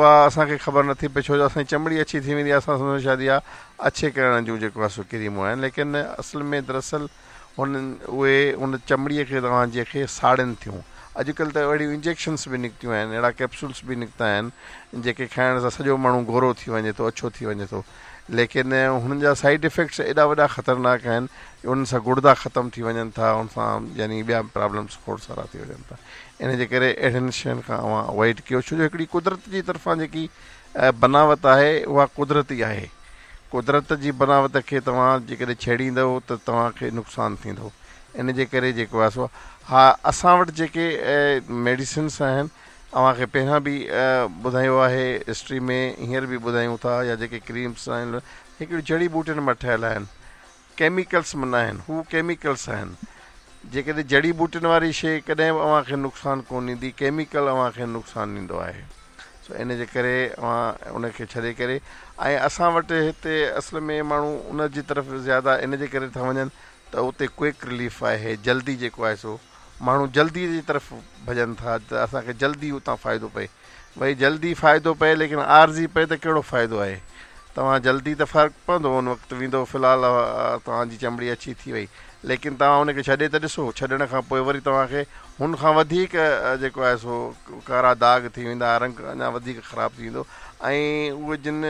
اها اسان کي خبر نٿي پئي ڇو جو اسان جي چمڙي اڇي ٿي ويندي آهي اسان سمجهون شايد اها اڇي ڪرڻ جون جيڪو آهي سو ڪريمون آهن ليڪن اصل ۾ دراصل هنن اهي ان چمڙي کي توهان جي کي ساڙين ٿيون اڄڪلهه ته اهڙيون انجيڪشنس به نڪتيون آهن اهڙا ڪيپسولس به نڪتا آهن جيڪي کائڻ سان سڄو ماڻهو گورو ٿي وڃي ٿو اڇو ٿي وڃي ٿو ليڪن هنن جا سائيڊ افيڪٽس ايڏا وڏا خطرناڪ آهن جو انهن سان گڙدا ختم ٿي وڃن ٿا ان سان يعني ٻيا پرابلمس کوڙ سارا ٿي وڃن ٿا ان جي ڪري اهڙين شين کان اوهان اوائڊ ڪيو ڇو جو هڪڙي قدرت جي طرفان جيڪي بناوت آهي اها قدرتي آهي قدرت جي بناوت کي توهان جيڪڏهن ڇيڙيندؤ ته توهان کي نقصان ٿيندو ان جي ڪري جيڪو آهي سو ها اسان وٽ جيڪي ميڊيسنس آهن اوهان کي پهريان به ٻڌايو آهي هسٽري ۾ هينئر به ٻڌايون ٿا يا جيڪي ڪريمس آهن هڪڙيون جڙي ٻوٽين مان ٺهيل آهن ڪيميڪلس مان نه آهن هو ڪيميڪلس آهن جيڪڏهن جڙي ٻوٽين واري شي ڪڏهن به اوهان کي نقصان ڪون ڏيندي ڪيميڪل اوهان کي نقصان ڏيندو آهي سو ان جي ڪري اوهان ان کي ڇڏي ڪري ۽ اسان وٽ هتي اصل ۾ ماڻهو ان جي طرف زياده ان جي ڪري ٿا وڃن ته اتي ڪوئڪ رليف آهي جلدي جيڪو آهي سو ماڻهو جلدي جي طرف ڀڄن ٿا ته اسان کي جلدي اتان فائدو پئي. ڀئي جلدي فائدو پئي ليڪن عارضي پئي ته ڪهڙو فائدو آهي. توهان جلدي ته فرق پوندو ان وقت ويندو في الحال توهان جي چمڙي اڇي ٿي وئي ليڪن توهان ان کي ڇڏي ته ڏسو ڇڏڻ کان پوء وري توهان کي هن کان وڌيڪ جيڪو آهي سو ڪارا داغ ٿي ويندا رنگ اڃا وڌيڪ خراب ٿي ويندو ۽ اهي جن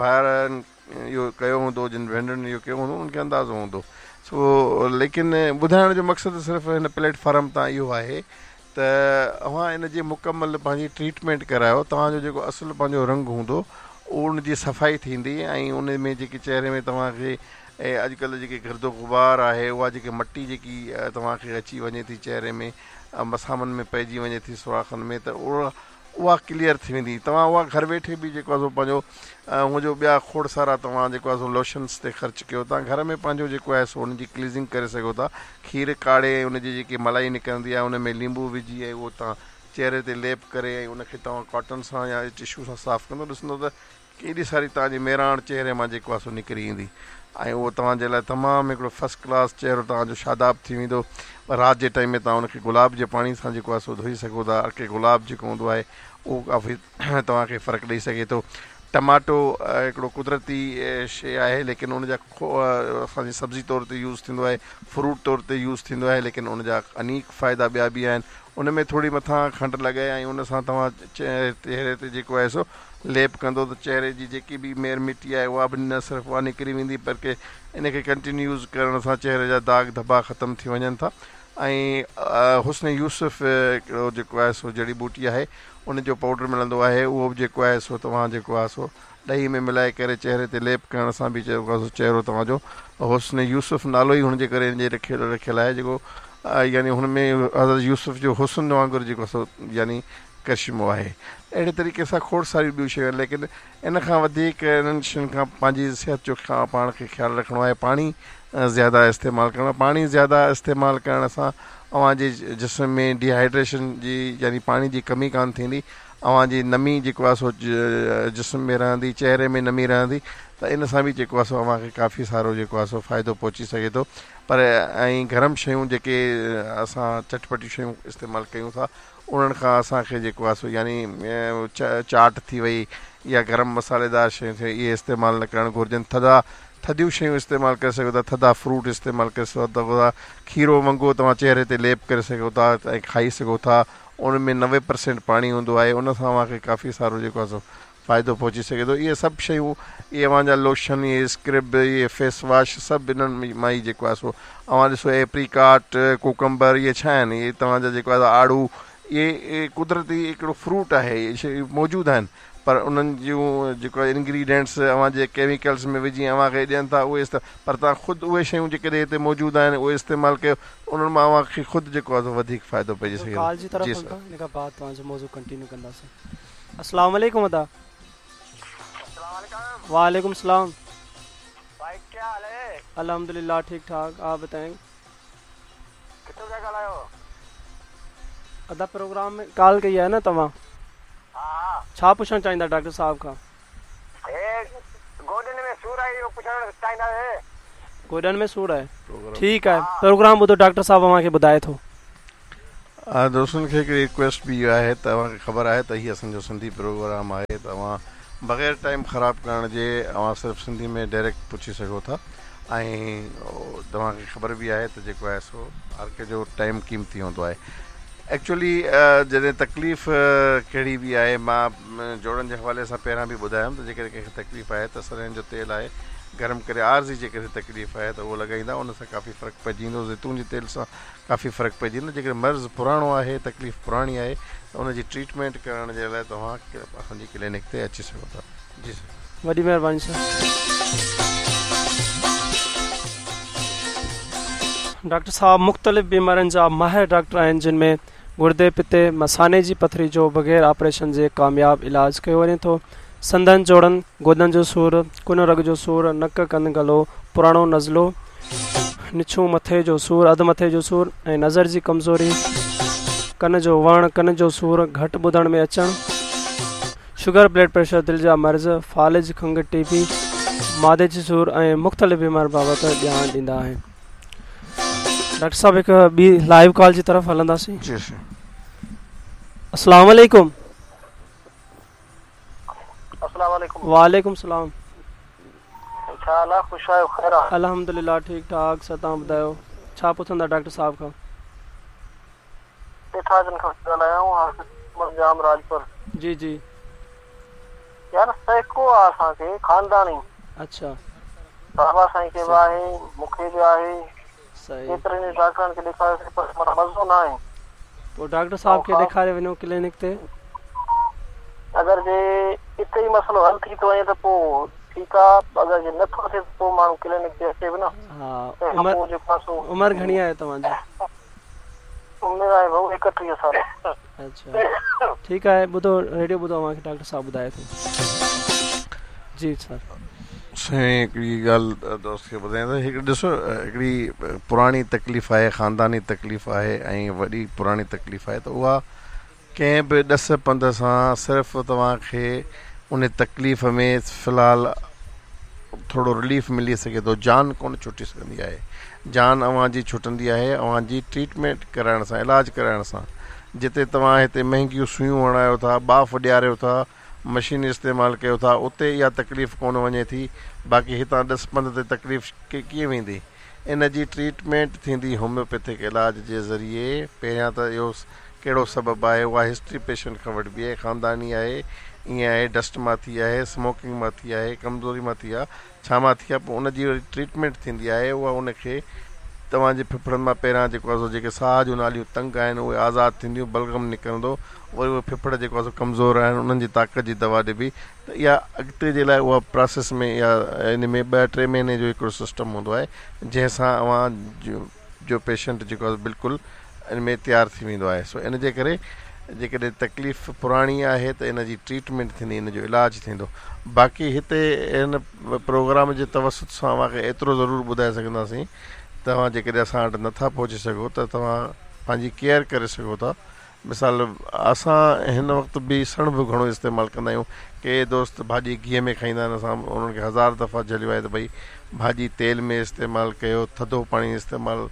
ڀائرن اهو ڪيو هوندو جن ڀينرن اهو ڪيو هوندو انهن کي اندازو هوندو سو ليڪن ٻڌائڻ جو مقصد صرف هن پليٽ فارم تان اهو آهي ته اوهان ان جي مڪمل پنهنجي ٽريٽمينٽ ڪرايو توهان جو جيڪو اصل پنهنجو رنگ هوندو ان جي صفائي ٿيندي ۽ ان ۾ جيڪي چهري ۾ توهان کي اڄڪلهه جيڪي گرد و غبار آهي اها جيڪي مٽي جيڪي توهان کي اچي وڃي ٿي چهري ۾ مسامن ۾ پئجي وڃي ٿي سوراخن ۾ ته اها اها ڪليئر ٿي ويندي توهان اها گهر ويٺي به جيڪو آهي سو پنهنجو هونء جو ٻيا کوڙ سارا توهان جيڪو آهي سو لوشنس تي خرچ ڪيو ٿا گهر ۾ پنهنجو جيڪو آهي سو ان جي ڪليزنگ ڪري سگهو ٿا کير ڪاڙهي ۽ ان جي جيڪي ملائي نڪرندي آهي ان ۾ ليمبو وجهي ۽ اهو توهان چهري تي ليپ ڪري ۽ ان کي توهان ڪاٽن سان يا ٽشو سان صاف ڪندو ڏسندو ته ڪيڏي ساري توهان جي ميراڻ چهري مان جيڪو آهي سو نڪري ايندي ۽ اهو توهان جي لاء تمام هڪڙو فرسٽ ڪلاس چهرو توهان جو شاداب ٿي ويندو رات جي ٽائيم ۾ توهان ان کي گلاب جي پاڻي سان جيڪو آهي سو ڌوئي سگهو ٿا عرق گلاب جيڪو هوندو آهي اهو ڪافي توهان کي فرق ڏئي سگهي ٿو ٽماٽو هڪڙو قدرتي شي آهي ليڪن ان جا اسان جي سبزي طور تي يوز ٿيندو آهي فروٽ طور تي يوز ٿيندو آهي ليڪن ان جا انيڪ فائدا ٻيا به آهن ان ۾ ٿوري مٿان کنڊ لڳائي ۽ ان سان توهان چهري تي جيڪو آهي سو ليپ ڪندو ته چهري جي جيڪي به مير مٽي آهي اها به نه صرف اها نڪري ويندي بلڪه ان کي ڪنٽينيو يوز ڪرڻ سان چهري جا داغ ڌٻا ختم ٿي وڃن ٿا ۽ حسن يوسف هڪڙو جيڪو آهي سو جڙي ٻوٽي آهي ان جو پائوڊر ملندو آهي اهو به جيڪو آهي سو توهان جيڪو آهي سو ڏهي ۾ ملائي ڪري چهري تي ليپ ڪرڻ سان به جيڪو آهي سو چهرو توهان جو حسن يوسف نالو ئي هن جي ڪري هن جي رکيل رکيل آهي جيڪو يعني هن ۾ حضرت يوسف جو حسن وانگر جيڪو سو يعني ڪرشمو آهي اهڙي طريقي سان کوڙ ساريون ٻيون شيون آهن ليڪن ان کان وڌيڪ انهن شين کان پنهنجي صحت جو پاڻ کي خيال رکڻو آهي پاڻي زياده استعمال ڪرڻو پاڻي زياده استعمال ڪرڻ سان اوهان جي جسم ۾ ڊي هائيڊريشن جي يعني پاڻي جي ڪمي ڪانه ٿيندي اوهان جي نمي جيڪو آهي سو جسم ۾ رهندي چهري ۾ نمي رهندي ته ان سان به جيڪو آهي سو اوهان کي ڪافي سارو جيڪو آهي سو فائدو پهچي سگهي ٿو پر ۽ گرم شيون جيڪي اسان چٽپٽيون شيون استعمال ڪيون ٿا انهن کان اسان کي جيڪو آهي سو يعني چاٽ ٿي وئي يا گرم مصالحيدار شيون ٿي ويون اهي استعمال نه ڪرڻ گهرجن ٿڌا ٿڌيون شيون استعمال ڪري سگهو ٿا ٿڌا فروٽ استعمال ڪري سگهو ٿا کيرو ونگو توهان چهري تي ليپ ڪري سگهو ٿا ۽ کائي سگهو ٿا ان ۾ 90% پاڻي هوندو آهي ان سان اوهان کي ڪافي سارو جيڪو آهي سو فائدو پهچي سگهي ٿو اهي سڀ شيون اهي اوهان جا لوشن اهي اسڪرب اهي فيس واش سڀ انهن مان ئي جيڪو آهي سو اوهان ڏسو ايپريڪاٽ ڪوڪمبر اهي ڇا آهن اهي توهان جا جيڪو آهي آڙو اهي قدرتي هڪڙو فروٽ آهي اهي شيون موجود آهن پر انهن جون جيڪو آهي انگريڊينٽس اوهان جي ڪيميڪلس ۾ وجهي اوهان کي ڏين ٿا اهي پر توهان خود اهي شيون جيڪڏهن هتي موجود آهن اهي استعمال ڪيو انهن مان اوهان کي خود جيڪو آهي سو وڌيڪ فائدو پئجي سگهي ڪال جي ٿو طرف جي هلون سر. ٿا ان کان بعد توهان جو موضوع ڪنٽينيو ڪنداسين السلام عليڪم ادا. السلام عليڪم. وعليڪم السلام. ڀائي ڪيا حال هي. الحمدلله ٺيڪ ٺاڪ آپ بتائين. ڪٿون پيا ڳالهايو. ادا پروگرام ۾ ڪال ڪئي آهي نه توهان. ها ها. ڇا پڇڻ چاهيندا ڊاڪٽر صاحب کان. هي گوڏن ۾ سور آهي اهو پڇڻ چاهيندا سي. گوڏن ۾ سور آهي ٺيڪ آهي پروگرام ٻڌو ڊاڪٽر صاحب اوهان کي ٻڌائي ٿو. دوستن کي هڪڙي ريڪويسٽ به اها آهي ته اوهان کي خبر آهي ته هي اسان جو سنڌي پروگرام آهي ته اوهان بغير ٽائيم خراب ڪرڻ جي اوهان صرف سنڌي ۾ ڊائريڪٽ پڇي سگهو ٿا ۽ توهان کي خبر به آهي ته جيڪو آهي سو هر ڪنهن جو ٽائيم قيمتي هوندو آهي ايڪچولي جڏهن تڪليف ڪهڙي به آهي مان جوڙن جي حوالي سان پهريان به ٻڌايم ته جيڪڏهن ڪنهن کي تڪليف آهي ته سرنهن جو تيل آهي گرم ڪري عارضي جيڪڏهن تڪليف آهي ته اهو لڳائيندا ان سان ڪافي فرق پئجي ويندو زيتون جي تيل سان ڪافي فرق پئجي ويندو جيڪڏهن مرض پراڻو آهي تڪليف پراڻي آهي ته ان جي ٽريٽمينٽ ڪرائڻ جي لاء توهان اسان جي ڪلينڪ تي اچي سگهو ٿا جي سر. وڏي مهرباني سر. ڊاڪٽر صاحب مختلف بيمارين جا ماهر ڊاڪٽر آهن جن ۾ گردي پتي مثاني جي پٿري جو بغير آپريشن جي ڪامياب علاج ڪيو وڃي ٿو سنڌن جوڙن گوڏن جو سور ڪن رڳ جو سور نڪ ڪن گلو پراڻو نزلو نڇون مٿي جو سور اڌ مٿي جو سور ۽ نظر جي ڪمزوري ڪن جو وهڻ ڪن جو سور گهٽ ٻڌڻ ۾ اچڻ شگر بلڊ پريشر دل جا مرض فالج کنگهه ٽي بي معدي جي سور ۽ مختلف بيمارين بابت ڄاڻ ڏيندا آهن ڊاڪٽر صاحب هڪ ٻي لائيو ڪال جي طرف هلنداسين جي سائين. السلام عليڪم. السلام عليڪم. وعليڪم السلام. ڇا حال آ خوش آهيو خير آ. الحمدلله ٺيڪ ٺاڪ سر توهان ٻڌايو ڇا پڇندا ڊاڪٽر صاحب کان. پيٺاجن کان ڳالهايان حافظ محمد ڄام راڄپر. جي جي. يار سهڪو آ اسان کي خانداني. اڇا. بابا سائين کي به آهي مون کي به آهي. صحيح. ڪيترن ئي ڊاڪٽرن کي ڏيکاريوسين پر معنيٰ مزو ناهي. پوء ڊاڪٽر صاحب کي ڏيکاري وڃو ڪلينڪ تي. اگر جي اتي ئي مسئلو حل ٿي ٿو وڃي ته پوء ٺيڪ آ اگر جي نٿو ٿئي ته پوء ماڻهو ڪلينڪ تي اچي به نه. ها عمر عمر گهڻي آهي توهان جي؟ عمر آهي ڀائو 31 سال. اڇا ٺيڪ آهي ٻڌو ريڊيو ٻڌو اوهان کي ڊاڪٽر صاحب ٻڌائي ٿو جي سر. سائين هڪڙي ڳالهه دوست کي ٻڌايان ته هڪ ڏسو هڪڙي پراڻي تڪليف آهي خانداني تڪليف آهي ۽ وڏي پراڻي تڪليف آهي ته اها ڪنهن به ڏس پنڌ سان صرف توهان کي ان تڪليف ۾ في الحال ٿورو رليف ملي سگهي ٿو جان ڪونه ڇٽي سگهندي آهي جان اوهان جي ڇٽندي آهي اوهان جي ٽريٽمينٽ ڪرائڻ سان علاج ڪرائڻ سان جتي توهان هتي مهنگيون سيون هڻايو ٿا ٻاڦ ڏياريو ٿا مشين استعمال ڪيو ٿا اتي اها تڪليف ڪونه وڃي ٿي باقي هتان ڏس پنڌ تي تڪليف ڪيئن ويندي ان جي ٽريٽمينٽ ٿيندي هوميوپيٿڪ علاج جي ذريعي پهريان ته اهو ڪهڙو سبب آهي اها هسٽري پيشنٽ کان وٺبي آهي خانداني آهي ائين آهي ڊسٽ مان ٿي آهي سموڪنگ مان ٿي آهي ڪمزوري مان ٿي آهي ڇا مان ٿي آهي پوء ان جي وري ٽريٽمينٽ ٿيندي آهي اها ان کي توهان جي ڦڦڙن مان پهريان جيڪو آهي سو جيڪي ساهه جون ناليون تنگ آهن اهي آزاد ٿينديون بلغم نڪرندو وري اهي ڦڦڙ جيڪو آهي سو ڪمزور آهن انهن جي طاقت جي دوا ڏبي ته اها اڳتي جي لاء اها پراسيس ۾ اها ان ۾ ٻه ٽي مهيني جو هڪڙو سسٽم هوندو آهي جنهن سان اوهان جو پيشنٽ جيڪو آهي بلڪل ان ۾ تيار ٿي ويندو آهي سو ان جي ڪري جيڪڏهن تڪليف پراڻي آهي ته ان جي ٽريٽمينٽ ٿيندي ان جو علاج ٿيندو باقي هتي هن پروگرام جي توسط سان اوهان کي ايترو ضرور ٻڌائي سگهنداسين توهان جيڪڏهن اسان وٽ نٿا پهچي سگهو ته توهان پنهنجي ڪيئر ڪري سگهو ٿا مثال اسان هن وقت به سڻڀ گهڻو استعمال ڪندا آهيون ڪي دوست ڀاڄي گيهه ۾ کائيندا آهن اسان انهن کي هزار دفعا جهليو آهي ته ڀئي ڀاڄي تيل ۾ استعمال ڪيو ٿڌو پاڻي استعمال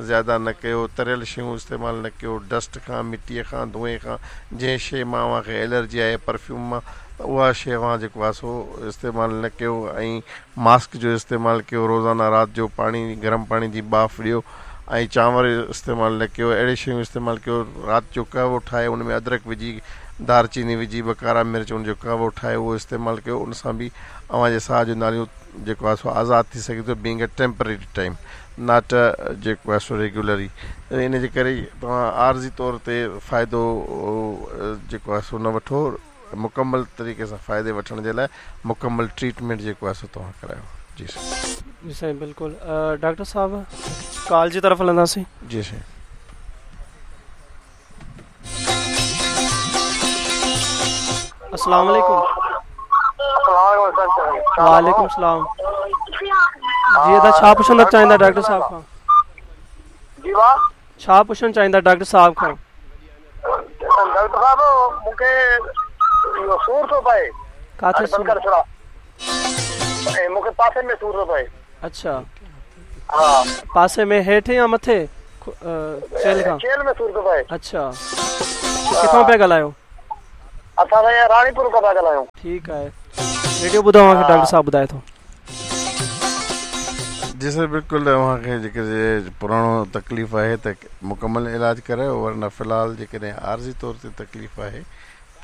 زياده نه ڪيو تريل شيون استعمال نه ڪيو ڊسٽ کان مٽيء کان دونهين کان جنهن شيء مان اوهان کي الرجي آهي پرفيوم مان ته اها شيء اوهان جيڪو آهي سو استعمال نه ڪيو ۽ ماسڪ جو استعمال ڪيو روزانه رات جو پاڻي گرم پاڻي جي ٻاڦ ڏيو ۽ چانور استعمال نه ڪيو اهڙي شيون استعمال ڪيو رات جو قهوو ٺاهي ان ۾ ادرڪ وجهي دار چيني وجهي ٻه ڪارا مرچ ان جو قهوو ٺاهي اهو استعمال ڪيو ان سان به اوهان جي ساهه جون ناليون جيڪو آهي سو آزاد ٿي سگهي ٿو being a temporary time not جيڪو آهي سو ريگيولري ان جي ڪري توهان عارضي طور تي فائدو جيڪو آهي سو نه وٺو مڪمل طريقي سان فائدي وٺڻ جي لاء مڪمل ٽريٽمينٽ جيڪو آهي سو توهان ڪرايو جي سائين. جي سائين بلڪل ڊاڪٽر صاحب ڪال جي طرف هلنداسين. جي سائين. السلام عليڪم. وعليڪم السلام جي ادا ڇا پڇڻ چاهيندا ڊاڪٽر صاحب کان. جي وا. ڇا پڇڻ چاهيندا ڊاڪٽر صاحب کان. ڊاڪٽر صاحب مون کي اهو سور ٿو پئي. ڪاٿي سور؟ بند ڪر ڇڙا. ۽ مون کي پاسي ۾ سور ٿو پئي. اڇا. ها. پاسي ۾ هيٺ يا مٿي؟ چيلهه کان؟ چيلهه ۾ سور ٿو پئي. اڇا ڪٿان پيا ڳالهايو؟ اسان سائين راڻيپور کان پيا ڳالهايون. ٺيڪ آهي ريڊيو ٻڌو اوهان کي ڊاڪٽر صاحب ٻڌائي ٿو. جي سر بلڪل اوهان کي جيڪڏهن پراڻو تڪليف آهي ته مڪمل علاج ڪرايو ورنه في الحال جيڪڏهن عارضي طور تي تڪليف آهي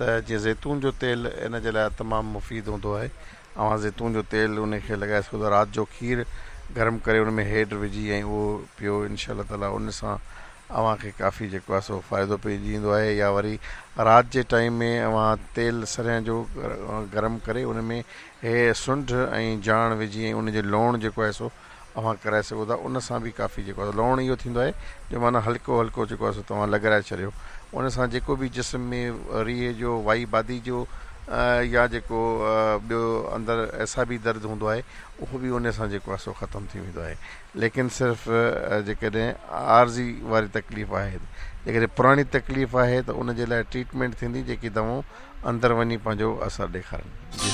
ته جيئن زيتون جو تيل ان جي لاء تمام مفيد هوندو آهي اوهان زيتون جو تيل ان کي لڳائي سگهو ٿا رات جو کير گرم ڪري ان ۾ هيڊ وجهي ۽ اهو پيو انشاء الله تعالي ان سان اوهان کي ڪافي جيڪو آهي سو فائدو پئجي ويندو آهي يا وري رات جي ٽائيم ۾ اوهان تيل سرهين جو گرم ڪري ان ۾ هي سنڍ ۽ جاڻ وجهي ۽ ان جو لوڻ جيڪو آهي سو اوهان ڪرائي سگهو ٿا ان سان به ڪافي جيڪو آهي لوڻ اهو ٿيندو آهي جو معنيٰ هلڪو هلڪو جيڪو آهي سو توهان لڳرائي ڇڏيو ان سان جيڪو به جسم ۾ ريهه جو وائي بادي جو يا جيڪو ٻيو اندر اعصابي درد هوندو آهي اهو به ان سان جيڪو آهي سو ختم ٿي ويندو آهي ليڪن صرف جيڪڏهن عارضي واري تڪليف آهي جيڪڏهن پراڻي تڪليف آهي ته ان جي لاء ٽريٽمينٽ ٿيندي جيڪي دوائون اندر وڃي پنهنجو اثر ڏيکارن. جي.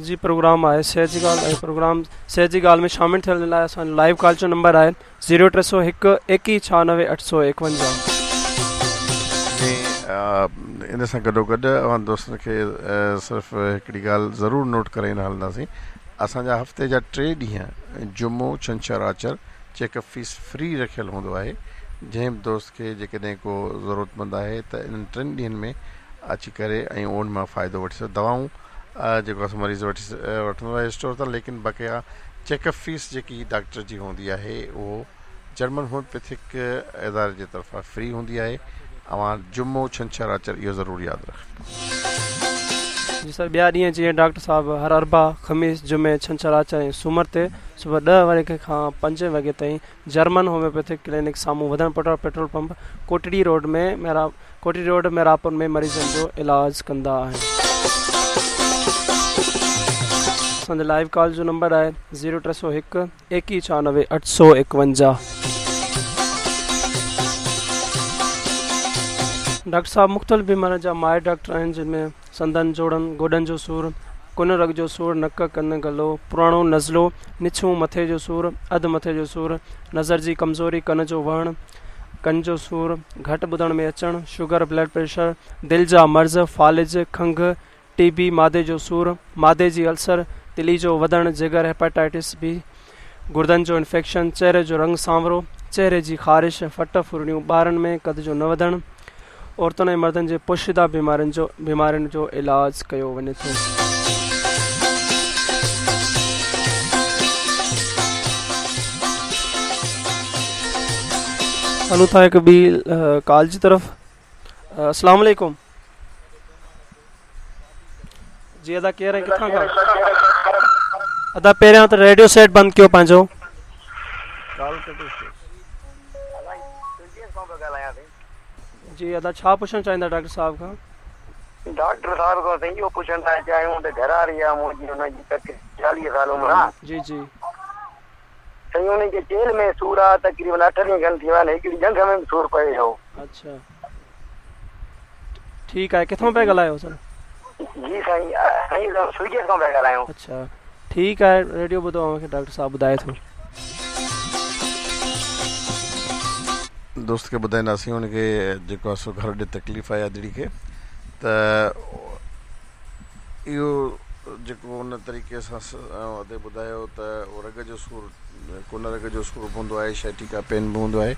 جي پروگرام آهي صحت جي ڳالهه ۽ پروگرام صحت جي ڳالهه ۾ شامل ٿيڻ جي لاء اسان جو لائيو ڪال جو نمبر آهي زيرو ٽي سو هڪ ايڪيهه ڇهانوي اٺ سو ايڪونجاهه. جي ان سان گڏو گڏ اوهان دوستن کي صرف هڪڙي ڳالهه ضرور نوٽ ڪرائيندا هلنداسين اسان جا هفتي جا ٽي ڏينهن جمعو ڇنڇر آچر چيڪ اپ فيس فري رکيل هوندو آهي جنهن به دوست کي جيڪڏهن ڪو ضرورتمند آهي ته انهن ٽن ڏينهن ۾ اچي ڪري ۽ ان مان فائدو وٺي سگهي دوائون جيڪو آهي سو مريض وٺي وٺندو آهي اسٽور تان ليڪن بقايا چيڪ اپ فيس جيڪي ڊاڪٽر جي هوندي آهي اهو جرمن هوميوپيٿڪ اداري جي طرفان فري هوندي آهي اوهان جمعو ڇنڇر آچر اهو ضرور ياد رکجو. جي سر ٻيا ڏينهن جيئن ڊاڪٽر صاحب هر اربع، خميس، جمعي، ڇنڇر، آچر ۽ سومر تي صبح ڏهه وڳي کان پنج وڳي تائين جرمن هوميوپيٿڪ ڪلينڪ سامهون وڌڻ پٽ petrol pump Kotri road ۾ Kotri road Mirapur ۾ مريضن جو علاج ڪندا آهن. اسان جو لائيو ڪال جو نمبر آهي زيرو ٽي سو هڪ ايڪيهه ڇهانوي اٺ سو ايڪونجاهه. ڊاڪٽر صاحب مختلف بيمارين جا ماهر ڊاڪٽر آهن جن ۾ سنڌن، جوڙن، گوڏن جو سور، ڪن رڳ جو سور، نڪ، ڪن، گلو، پراڻو نزلو، نڇون، مٿي جو سور، اڌ مٿي جو سور، نظر جي ڪمزوري، ڪن جو وهڻ، ڪن جو سور، گهٽ ٻڌڻ ۾ اچڻ، شگر، بلڊ پريشر، دل جا مرض، فالج، کنگهه، ٽي بي، معدي جو سور، معدي جي السر، تلي جو وڌڻ، جگر، هيپاٽائٽس بي، گردن جو انفيڪشن، چهري جو رنگ سانورو، چهري جي خارش، ڦٽ ڦرڙيون، ٻارن ۾ قد جو نه وڌڻ، عورتن ۽ مردن جي پوشيده بيمارين جو بيمارين جو علاج ڪيو وڃي ٿو. هلون ٿا هڪ ٻي ڪال جي طرف. السلام عليڪم. جي ادا ڪير ۽ ڪٿان کان؟ ادا پهريان ته ريڊيو سيٽ بند ڪيو پنهنجو. ڪال ڪٽي ڇڏيو. جي ادا ڇا پڇڻ چاهيندا ڊاڪٽر صاحب کان؟ ڊاڪٽر صاحب کان سائين اهو پڇڻ ٿا چاهيون ته گهر واري آ منهنجي ان جي تقريبن چاليهه سال عمر آ. جي جي. سائين ان کي چيلهه ۾ سور آ تقريبن اٺ ڏينهن کن ٿي ويا آهن هڪڙي ڄنگهه ۾ به سور پئي ويو. اڇا ٺيڪ آهي ڪٿان پيا ڳالهايو سر؟ جي سائين سائين سوئي گيٽ کان پيا ڳالهايون. اڇا ٺيڪ آهي ريڊيو ٻڌو اوهان کي ڊاڪٽر صاحب ٻڌائي ٿو. دوست کي ٻڌائينداسين ان کي جيڪو آهي سو گهر ڏي تڪليف آهي ادڙي کي ته اهو جيڪو ان طريقي سان ادي ٻڌايو ته رڳ جو سور ڪن رڳ جو سور به هوندو آهي شائٽيڪا پين به هوندو آهي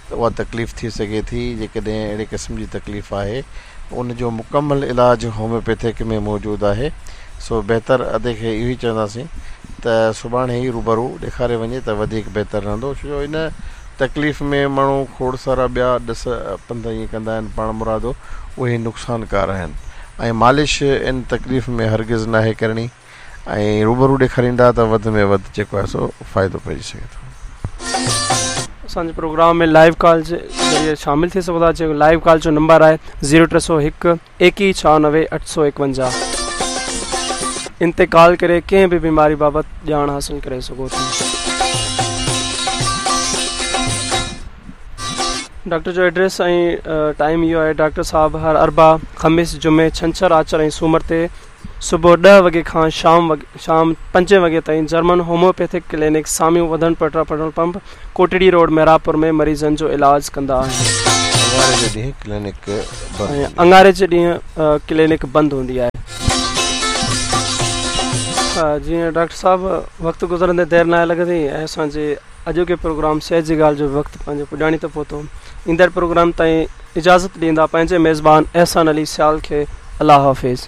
ته اها تڪليف ٿي سگهي ٿي جيڪڏهن اهڙي قسم جي تڪليف آهي ان جو مڪمل علاج هوميوپيٿڪ ۾ موجود آهي سو بهتر ادي کي اهو ئي چونداسين ته سڀاڻي ئي روبرو ڏيکاري وڃي ته وڌيڪ بهتر رهندو ڇو جو ان تڪليف ۾ ماڻهو کوڙ سارا ٻيا ڏس پنڌ ائين ڪندا آهن پاڻ مرادو اهي نقصانڪار آهن ۽ مالش ان تڪليف ۾ هرگز ناهي ڪرڻي ۽ روبرو ڏيکاريندا ته وڌ ۾ وڌ جيڪو آهي سو فائدو پئجي سگهي ٿو. اسان جي پروگرام ۾ لائيو ڪال جي ذريعي شامل ٿي سگهو ٿا جيڪو لائيو ڪال جو نمبر آهي زيرو ٽي سو هڪ ايڪيهه ڇهانوي اٺ سو ايڪونجاهه ان تي ڪال ڪري ڪنهن به بيماري بابت ڄاڻ حاصل ڪري سگهو ٿا. ڊاڪٽر جو ايڊريس ۽ ٽائيم اهو آهي ڊاڪٽر صاحب هر اربع، خميس، جمعي، ڇنڇر، آچر ۽ سومر تي صبح ڏهه وڳي کان شام شام پنجين وڳي تائين جرمن هوميوپيٿڪ ڪلينڪ سامهون وڌڻ Petra petrol pump Kotri road Mehrabpur ۾ مريضن جو علاج ڪندا آهن. اڱاري جي ڏينهن ڪلينڪ بند هوندي. اڱاري جي ڏينهن ڪلينڪ بند هوندي آهي. جيئن ڊاڪٽر صاحب وقت گذرندي دير ناهي لڳندي ۽ اسان جي اڄوڪي پروگرام صحت جي ڳالهه جو به وقت پنهنجي پڄاڻي تي پهتو. ايندڙ پروگرام تائين اجازت ڏيندا پنهنجي ميزبان احسان علي سيال کي الله حافظ.